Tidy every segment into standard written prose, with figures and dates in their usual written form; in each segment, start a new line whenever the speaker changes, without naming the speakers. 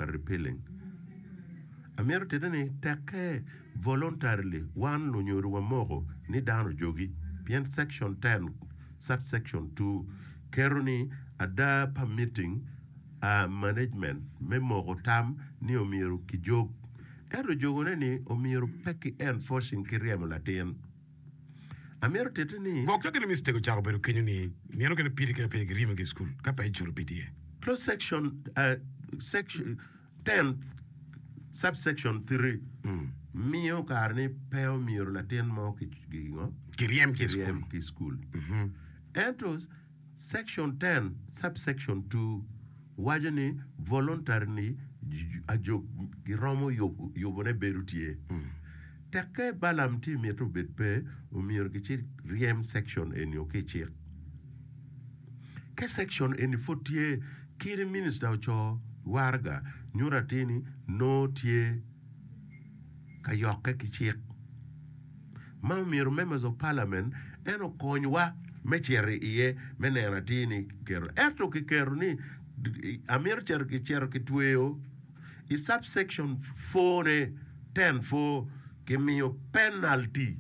ka repealing. Amito tite ni tekke voluntarily wan lunyodo wamoko ni dano ojogi pien section 10 subsection 2 keto ni ada pa meeting a management me moko tam ni omyero kijog ento jogone ni omyero pe ki enforcing ki ryemo latin. Amito titi ni.
Gwok ka gin mistake ocako bedo kenyo ni nino kene pidi ka pe giryemo ki i cukul ka pe iculo PTA.
Close section section 10 subsection 3 miyo kare ni pe omyero latin mo ki ngo?
Kiryem ki i cukul.
Kiryem ki i cukul. Ento Section 10, subsection 2 waco ni voluntary ni ajog giromo yubone bedo tye. Tekke Balaam tye mito obed pe, omyero gici ryem section eni ki i cik. Ka section eni pud tye, kadi minista oco waraga nyuto atir ni nongo tye ka yokke ki cik. Ma omyero members of parliament en okonywa me cito iye me neno atir ni kiketo ento kiketo ni amito cito kicito kitweyo i sub section four ne ten four kimiyo penalty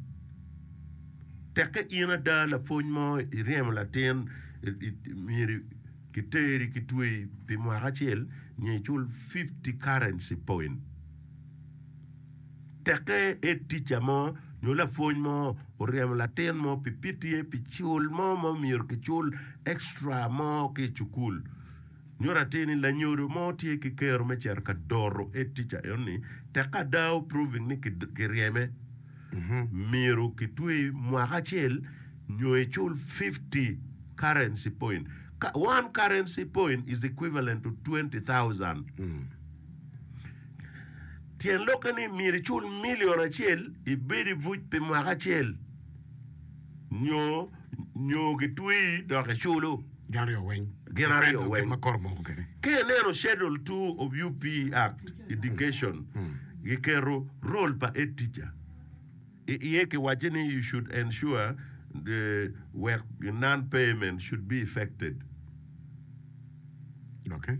tekke in ada lapwony mo iryemo latin myero kiteri kitweyi pi mwaka acel nyo icul 50 currency point. Tekke head teacher mo nyo lapwony mo oryemo latin mo pi PTA pi cul mo ma omyero kicul extra mo ki i cukul nyuto atir ni lanyodo mo tye ki kero me cito ka doto head teacher enoni tekke ada proving ni kiryeme myero kitwe mwaka acel nyo icul 50 currency point. One currency point is equivalent to 20,000. Tyen lokke ni myero icul milion acel ibed i buc pi mwaka acel nyo nyo gitweyi dok iculo.
Gin aryo weng.
Gin aryo weng.
Kit ma kor omoko kwede.
Ka ineno Schedule 2 of UP Act, Education, giketo role pa head teacher i iye kiwacce ni you should ensure the wek non payment should be effected.
Okay.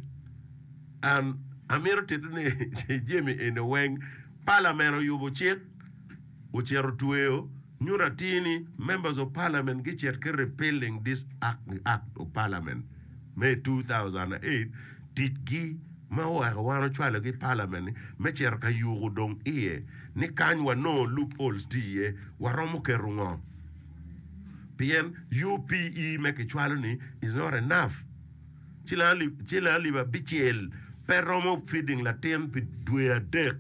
An amito tito ni jami eni weng parliament oyubo cik ocito otweyo nyuto atir ni members of parliament gicit ki repealing this act of parliament me 2008 ticgi ma oweko wan ocwalogi i parliament ni me cito ka yuko dong iye ni kany wanongo loopholes tye iye waromo keto ngo pien UPE me kicwalo ni is not enough. Ciling alip abicel pe romo feeding latin pi dwe adek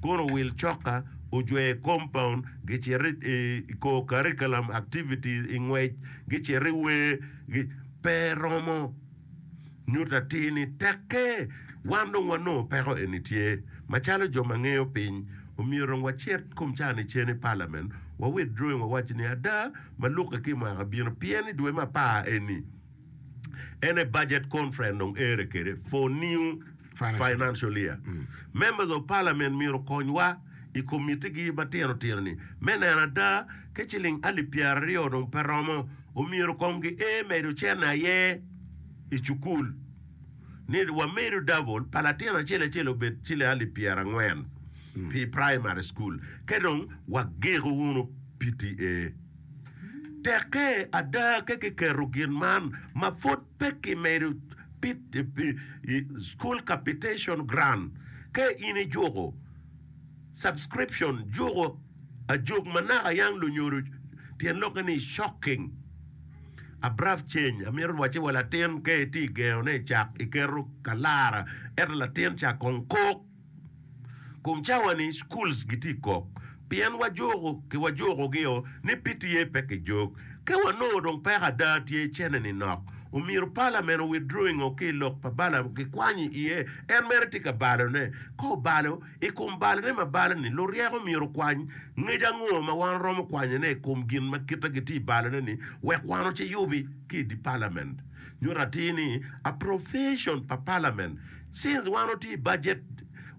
kono owil coka ojwer i compound gicito i co curriculum activities i ngwec gicito i wer pe romo nyuto atir ni tekke wan dong wanongo peko eni tye macalo jo ma ngeyo piny omyero dong wacit kom ca ni cen i parliament wa withdrawing wawac ni ada ma lukke ki mwaka bino pien i dwe me apar eni En aye budget conference dong ere kede for new financial year. Members of parliament myero okonywa i committee gi matino tino ni me neno ada ka ciling alip pyeraryo dong pe romo omyero kong gi ee medo cene aye i cukul ni wamedo double pa latin acel acel obed ciling alip pyerangwen pi primary school ka dong wagiko wunu PTA. Tekke ada ka kiketo gin man ma pud pe kimedo school capitation grant ka in ijuko subscription juko ajog ma naka yang lunyodo tyen lokke ni shocking abrupt change amito wacci wa latin ka itye gengo ne cak iketo kalara ento latin ca kong kok. Kom cawa ni schools gitye i kok pien wajuko ki wajuko gi o ni PTA pe ki jog. Ka wanongo dong peko ada tye cene ni nok omyero parliament o withdrawing o ki i lok pa Balaam ki kwanyo iye en mere tye ka balo ne. Ka obalo i kom balo ne ma balo ni luryeko myero okwany ngec ango ma wan romo kwanyo ne i kom gin ma kite gitye i balo ne ni wek wan oci yubi ki i di parliament. Nyuto atir ni appropriation pa parliament Since wan watye i budget,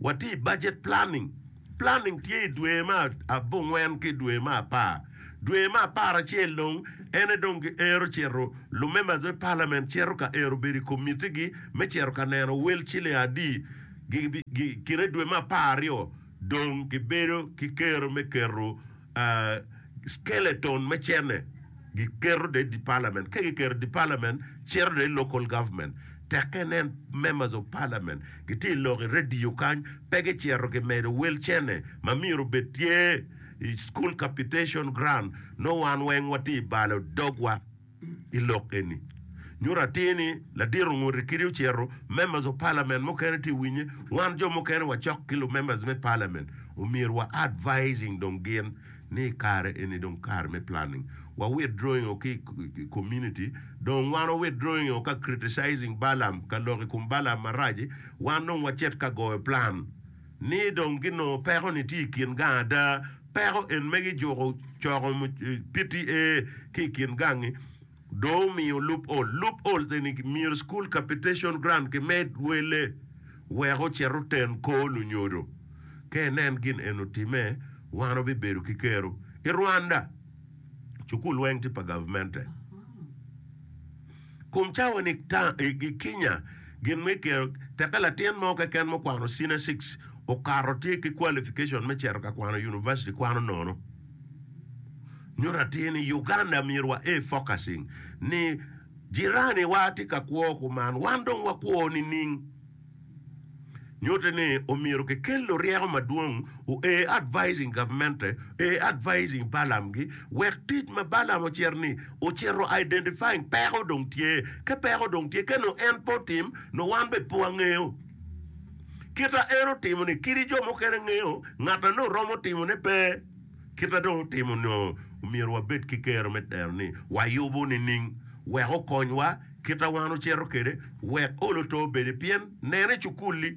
watye i budget planning, planning tye i dwe me abongwen ki dwe me apar. Dwe me aparacel dong en aye dong giero cito, lu members me parliament cito ka ero bedo i committee gi me cito ka neno wel ciling adi. Kine dwe me 12 dong gibedo ki kero me keto skeleton me cene giketo de i parliament. Ka giketo i parliament cito de i local government. Tekke inen members of parliament gitye i lok i radio kany pe gicito gimedo wel cene ma myero obed tye i school capitation grant nongo wan weng watye i balo dogwa. I lok eni, nyuto atir ni ladit ongut kidi ocito, members of parliament mukene tye winye, wan jo mukene wacok ki lu members me parliament omyero wa advising dong gin ni kare eni dong kare me planning wa withdrawing o ki i community dong wan wa withdrawing o ka criticizing Balaam ka lok i kom Balaam maraci wan dong wacit ka goyo plan ni dong ginongo peko ni tye i kin gang ada Peko en me gijuko coko PTA ki i kin gangi dong omiyo loophole. Loopholes eni myero school capitation grant kimed wele wek ocit oten kor lunyodo. Ka inen gin eni otime, wan wabibedo ki kero. I Rwanda, cukul weng tye pa gavmente. Kom cawa ni i Kenya gin me kero teke latin mo keken ma okwano senior cic okato tye ki qualification me cito ka kwano university kwano nono. Nyuto atir ni Uganda myero wa a focusing ni jirani wa tye ka kwo kuman wan dong wakwo nining? Nyutte ni omyero kikel luryeko madwong oa advising gavmente, oa advising Balaam gi wek tic ma Balaam ocito ni ocito identifying peko dong tye. Ka peko dong tye ka nongo en pe otim nongo wan bene pe wangeyo. Kita en otimo ni kadi jo mukene ngeyo ngat na nongo romo timo ne pe. Kita dong otimo nongo omyero wabed ki kero me neno ni wayubo nining wek okonywa. Kit a wan ocito kwede wek olo to obedi pien nene i cukul-li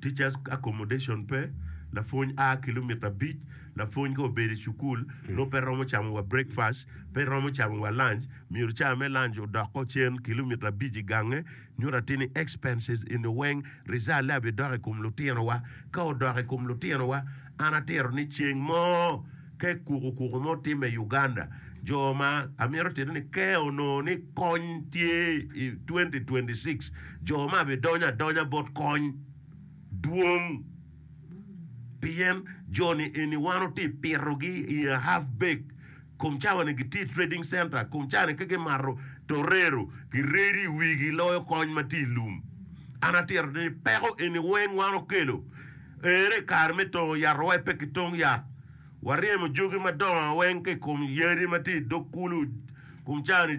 teachers accommodation pe, lapwony a kilomita abic, lapwony ka obedo i cukul nongo pe romo camo wa breakfast, pe romo camo wa lunch, myero cawa me lunch odoko cen kilomita abic i gange, nyuto atir ni expenses eni weng result-le abidok i kom lutinowa, ka odok i kom lutinowa an atito ni ceng mo Ka kukukuku mo timme i Uganda, jo ma amito tito ni ka onongo ni kony tye i 2026, jo ma bidonyo adonya bot kony dwong pien jo-ni eni wan watye pitogi i a half bake kom cawa ni gitye i trading center kom cawa ni ka gimato torero giredo i wigi loyo kony ma tye i lum. An atito ni peko eni weng wan okelo. Ere i kare me tongo yat wa pe ki tong yat. Waryemo jogi madongo weng ki i kom yadi ma tye i dog kulu. Kom cawa-ni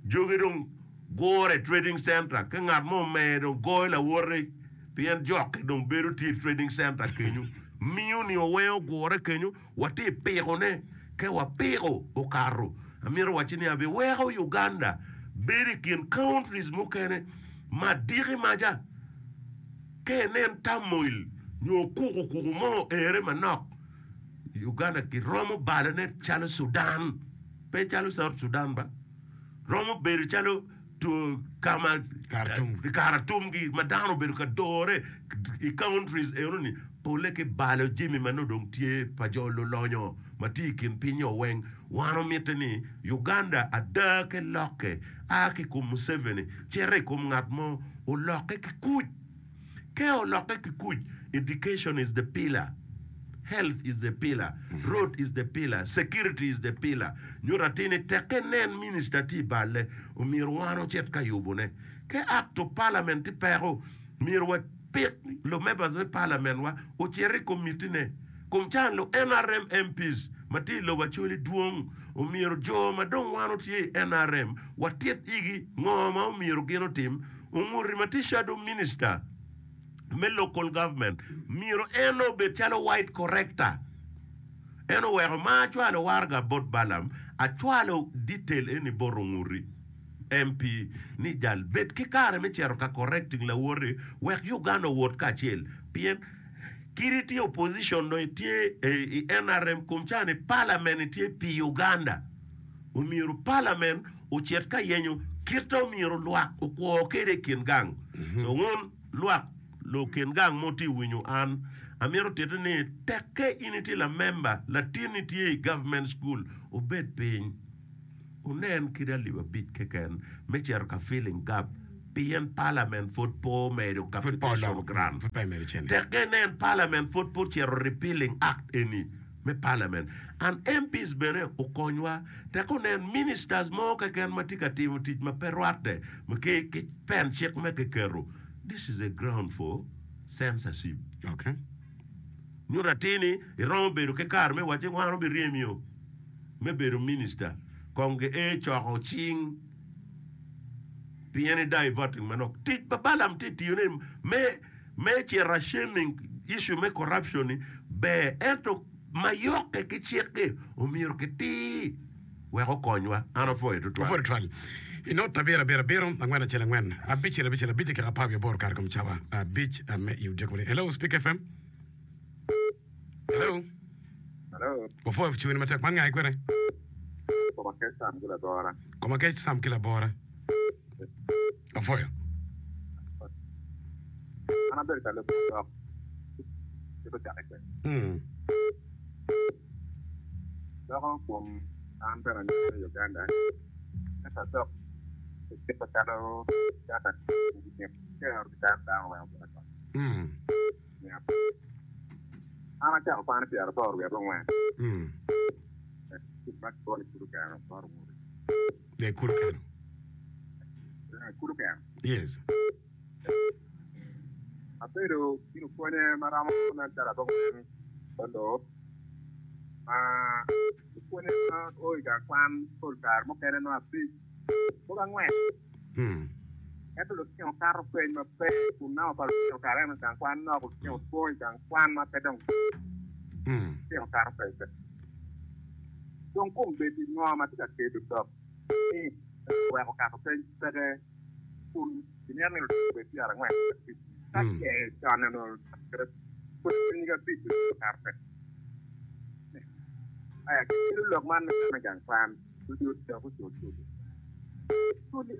jogi dong gure i trading center ka ngat mo omer dong goyo lawote pien jokke dong bedo tye i trading center kenyo. Miyo nio weng ogure kenyo watye pikone ka wapiko okato. Amito wacci ni abiweko Uganda bedo i kin countries mukene ma diki maca. Ka inen turmoil nyo kukukuku mo oere manok, Uganda kiromo balone calo Sudan, pe calo South Sudan ba, romo bedo calo kama Karatumgi ma dano obedo ka dore i countries enoni pole ki balo jami ma nongo dong tye pa jo lulonyo ma tye i kin piny-nyo weng. Wan omite ni Uganda ada ke lokke a ki kom Museveni cito i kom ngat mo olokke ki kuc. Ka olokke ki kuc, education is the pillar, health is the pillar, road is the pillar, security is the pillar. Nyuto atir ni tekke nen minister tye i balle, omyero wan ocit ka yubone. Ka act of parliament tye peko, myero wapik lumembers me parliament wa ocit i komitine. Kom can lu nrm MPs ma tye i lobo Acholi dwong, omyero jo ma dong wan otye i nrm watit igi ngo ma omyero gin otim. Onguti ma tye shadow minister me local government myero en obed calo white corrector. En oweko ma acwalo waraga bot Balaam, acwalo detail eni bot Onguti MP ni jal bed ki kare me cito ka correcting lawoti wek Uganda owot kacel pien Kadi itye opposition nyo itye i nrm kom ca ni parliament itye pi Uganda. Omyero parliament ocit ka yenyo kit ma omyero lwak okwo kede i kin gang. So wun lwak lukin gang ma wutye winyo an, amito titi ni tekke in itye lamemba, latinni tye i government school, wubed piny wunen kadi alip abic keken me cito ka filling gap. Pien Parliament pwod pe omedo capitation grant. Tekke inen Parliament pwod pe ocito repealing act eni me Parliament and MPs bene okonywa. Tekke onen Ministers mo keken ma tye ka timo tic ma pe rwatte ki pen cik me kiketo, this is a ground for censorship. Nyuto atir ni iromo bedo ki kare me wacci wan obiryemio me bedo minister kong gi ee coko cing. Pien i diverting manok. Tic pa Balaam tye tiyo ni me me cito ashaming issue me corruption ni ber ento ma yokke ki cik-ki omyero kitir wek okonywa. An apwoyo tutwal.
Apwoyo tutwal. I not abiro abiro abiro angwen acel angwen abicel abicel abic dakika apar wiye aboro kare kom cawa abic me i odiko maleng. Hello Speak FM. Hello.
Hello.
Wapwoyo cwiny matek man ngai kwede.
Koma kec Sam ki labora.
Koma kec Sam ki labora. Apwoyo.
An abedo ka lubo lok kit ocake kwede.
Mm.
Loko kom an bene anywalo i Uganda ento adok kit macalo data kero ki dano weng obedo ot.
Mm.
An acako kwan i pyeraboro wiye abongwen. Cuk ma kikwo ni Kulu Keno bot Owori.
Yeah, Kulu Keno.
Kulu Keno.
Yes.
Abedo ki lupwonye ma romo nen calo abongwen bot ma lupwonye ma o i gang kwan pol kare mukene nongo abic mogo angwen. Ento lutino kato peny maber kun namba pa lutino kare eno i gang kwan nok, lutino two i gang kwan ma pe dong lutino kato peny pe. Dong kombeddi ngo ma tye ka kelo lok ni weko kato peny peke kun kimito ni lutino obed 40 abic ka ce con onongo pwod nyig abic lutino kato peny. Aya kelo lok man me kwan i gang kwan. Oyot dok ocul cul. Cul i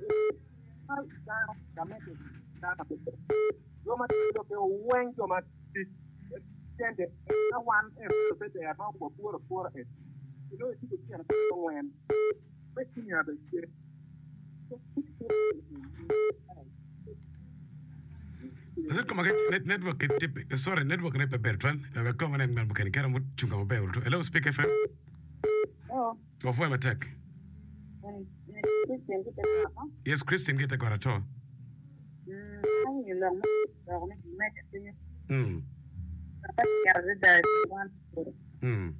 ma dano gamente dano pe jo ma tye lokke weng jo ma tic cente ka wan en pe ber ma wa pworo apwora en inongo itye ki tyen angwen me senior be tye.
Network sorry network ne pe ber twal wek kong anen ngat mukene kera mucung ka maber hello speak FM.
Hello.
Wapwoyo matek.
Christian ki te got.
Yes, Christian ki te got ato.
Mm, awinyo lok ma loko ni gimedde piny.
Mm.
Ata kero adada i wan polo.
Mm.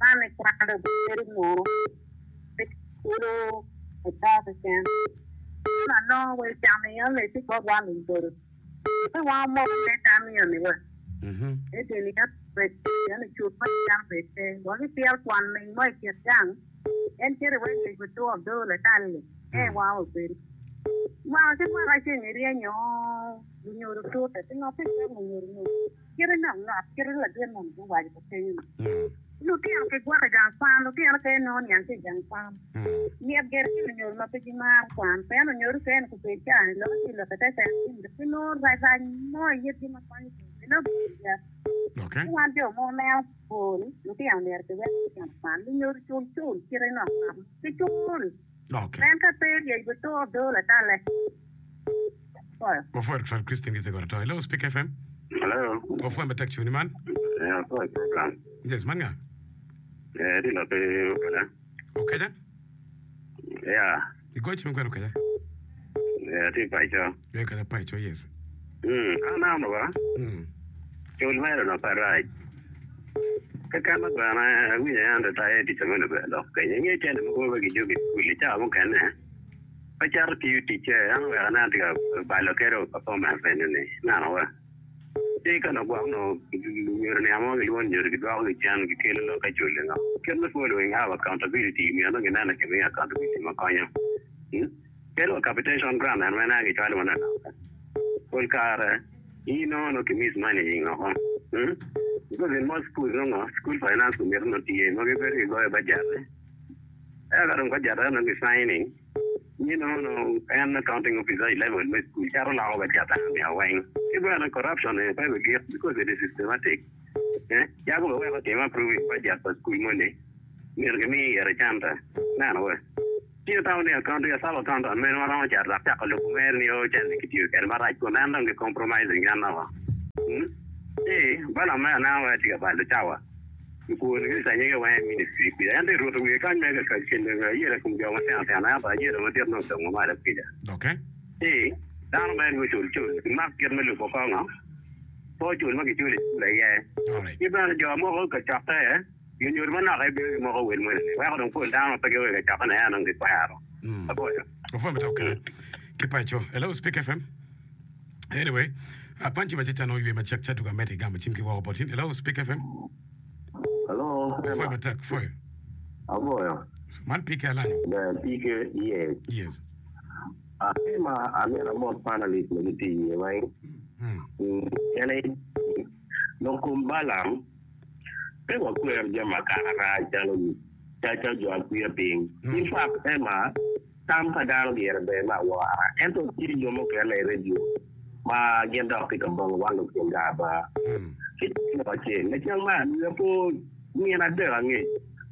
Man ni kwan dong bedo nono. Pe kulu ata keken. Man anongo wa icamo iye ni ci bot wan ludodo. Pe wan omoko me tam iye ni wa.
Mhm.
Ento ni bed en cut ma dano bed pe. Wa ki pyel kwan ming mo i kin gang, en cito iwek yec otwo adoo latal-li, en wango obedo. Mwaka ki mwaka ceng iryenyo lunyodo tute, pingo pe iweko lunyodo nyo kite nok nok kite ladit moni guwaco ka kenyo-ni. Lutino kigwoko i gang kwan, lutino pe nongo niang ki i gang kwan. Myet gire ki lunyodo ma pe gimaro kwan, pien lunyodo okene kubed caa-ni lok ki lok ite cen ginongo rac rac mo i itgi ma konyo komgi nongo gitye.
Okay.
Ci wan jo ma waneno pol, lutino myero kiwek lutino okwan, lunyodo cul cul kite nok nok ki cul.
Okay.
Pien ka pe ryec bitur doo latalle. Apwoyo.
Wapwoyo tutwal Christine ki Tegora To. Hello, Speak FM.
Hello.
Wapwoyo matek cuni man.
Eh, apwoyo program.
Yes, man nga?
Eh, di loki okeda.
Okeda?
Yeah.
Igoyo cim kwene Okeda?
Eh, atye paco.
Eh, Okeda paco, yes.
Mm, an amo ba.
Mm.
Cul mero no pe rac. Keken ma bene awinyo en ritaye tic ame nongo lok kenyo. Inge cene mogo ma gijogi i cukul i cawa mukene pe cito tiyo ticce en oweko aneno tye ka balo kede wa performance eni-ni. Ineno wa? Ci ka nongo gwok nongo lunyodo niang mo gilwongo lunyodo gidwoko gi cen gikelo lok ka cul ngo. Kit me following up accountability myero nongo gineno kimiyo accountability ma konyo. Kadi wa capitation grant en weng gicwalo wa nanok. Pol kare in inongo nongo ki mismanaging oko. Because in most schools nongo school finance committee nongo tye ma gibedo gigoyo budget. Eka ka dong budget eno ki signing in inongo nongo en accounting officer i level me school cito loko budget eno weng. Ki bene corruption eni pe bigik because it is systematic. Yako bene weko timo approving budget pa school moni myero kimi ire cente. Ineno we? Ci itamo ni accounting, a sub accountant mene ma romo cito dok cako lubo mere nio cente kitiyo kwede marac kun en dong ki compromising en woko. Ci Balaam mere aneno wai tye ka balo cawa i kwoni ki canyege weng i ministry kwica. En tye ruto wiye kany mere ka celo ayela i kom jo matino tino ento ayela madit nongo odongo malo kwica. Ci dano mere gucul cul gimak kit me lubo kongo pe ocul ma giculo i cul aye. Ki bene jo mogo kacokke. Lunyodo manok aye bino gimoko wel moni-ni, weko dong pol dano ma pe gio i kacokke-ni aye dong gikwero. Apwoyo.
Opwoyo matek kede ki paco. Hello, Speak FM. Anyway, apanci ma caca nongo ywe macek ca tuka amedde igamo cim ki woko bot in. Hello, Speak FM.
Hello,
Opwoyo matek, opwoyo.
Apwoyo.
Man PK Alanyo.
Ber, PK, yes.
Yes.
Ema amyero amot panalist ma gitye iye weng. En aye lok kom Balaam. Pe wakwer jami akaka rac calo caca jo akwiya piny. In fact, Emma, tam pa dano gire ber me awora, ento tye jo mukene i redio ma gin dok tye ka bongo wan lukin ga aba. Ki lok acel, lacen man wiya po nino adek angec,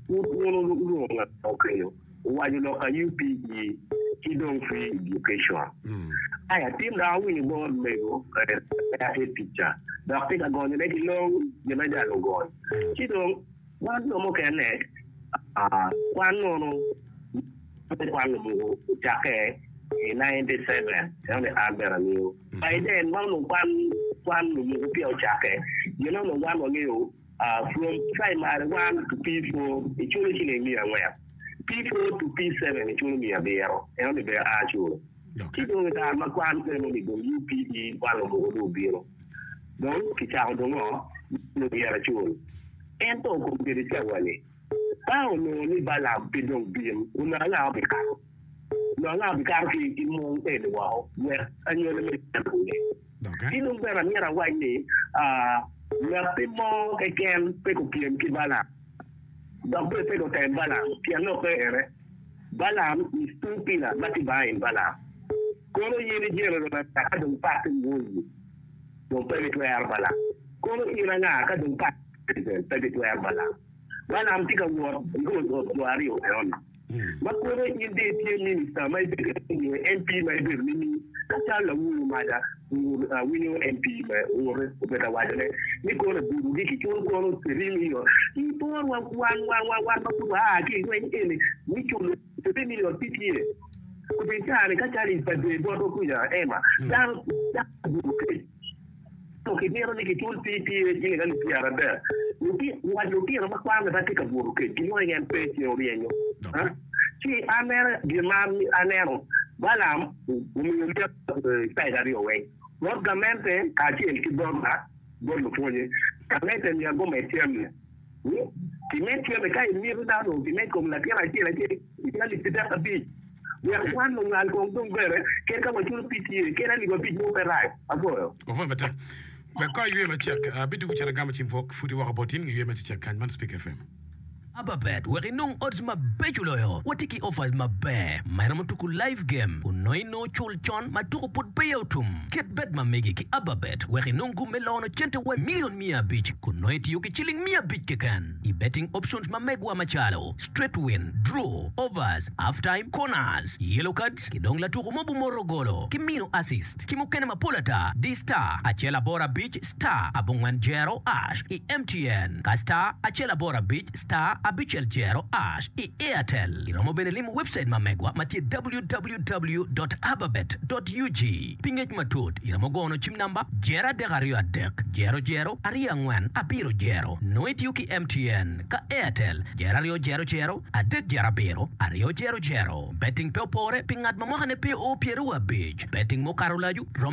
pud wun wulwongo ngat mo kenyo. Owaco lok ka UPE ki dong free education. Aya tin dok awinyo bot mego atye ticca dok tye ka gonyo ne ki long gin ma jal ogony. Ci dong wan jo mukene kwan nono kwan lumuku ocakke i 97 eno ni an bene angeyo. By then ma onongo kwan kwan lumuku peya ocakke gin onongo wan wangeyo From primary one to P4 iculo ciling 400, P4 to P7 iculo 900, eno ni ber a culo. Ci dong i kare ma kwan eno ni dong UPE kwan lumuku dong obino, dong kicako dong ngo myero acul. Ento kombeddi cawa ni ka onongo ni Balaam pe dong bin, onongo anga obikato? Onongo anga obikato ki i mung eni woko wek anywali me cente onge? Ci dong bene amyero awac ni, Ngatti mo keken pe gupyem ki Balaam, dok bene pe gutem Balaam, pien lokke ene, Balaam is two pillar ma tye behind Balaam. Kono in ijelo Lubanga ka dong pat owoyi, dong pe bitwero Balaam. Kono in anga ka dong pat president pe bitwero Balaam. Balaam tye ka wot i rod jo aryo enoni. Ma kono in dong itye minista ma ibedo nyo MP ma ibedo nining? Ka calo lawur maca awinyo MP me Ore obedo ka wacone ni kono ebudogi kiculo kono three million. Ipor wa wan wan wan wan ma pud waa ki i lweny eni ni culo three million pe tye. Obed caa-ni ka calo i Padee botwa kuca Emma dano dano obuto kec. Ento kimito ni kicul PPA ciling alip 30. Wac lutino ma kwanne pe tye ka buto kec gilwongo ni en pe ceng oryenyo. Ci an mere gin ma aneno, Balaam omiyo lyeto cait aryo weng, bot gamente kacel ki bot lupwonye. Gamente myero gumed cente. Kimed cente ka imito dano kimed kom latin acel acel ciling alip 35. Wek wan lunywal kong dong bene kadi ka waculo PTA kadi alip abic mo pe rac. Apwoyo.
Opwoyo matek. Wek kong aywe macek. Abidwogo cen agamo cim pwok pudi woko bot in nge ywe macecek kany. Man Speak FM.
Ababet wek inong odds mabeco loyo. Watye ki offers maber ma iromo tuku live game kun nongo inongo cul con ma tuku pud peya otum. Ket bet ma megi ki Ababet wek inong gum me lono cente wa million 500 kun nongo itiyo ki ciling 500 keken i betting options ma megwa macalo straight win, draw, overs, half time, corners, yellow cards ki dong latuku mo bumoro golo ki mino assist ki mukene mapol ata. Di star acel aboro abic star abongwen jero ash i MTN ka star acel aboro abic star abicel jero ash i Airtel. Iromo bene limo website ma megwa ma tye www dot ababet dot ug. Pi ngec matut, iromo gono cim namba jero adek aryo adek jero jero aryo angwen abiro jero. Nongo itiyo ki MTN ka Airtel jero aryo jero jero adek jero abiro aryo jero jero. Betting pe opore pi ngat ma mwakane pe oo pyeraryo abic. Betting mukato olacu romo.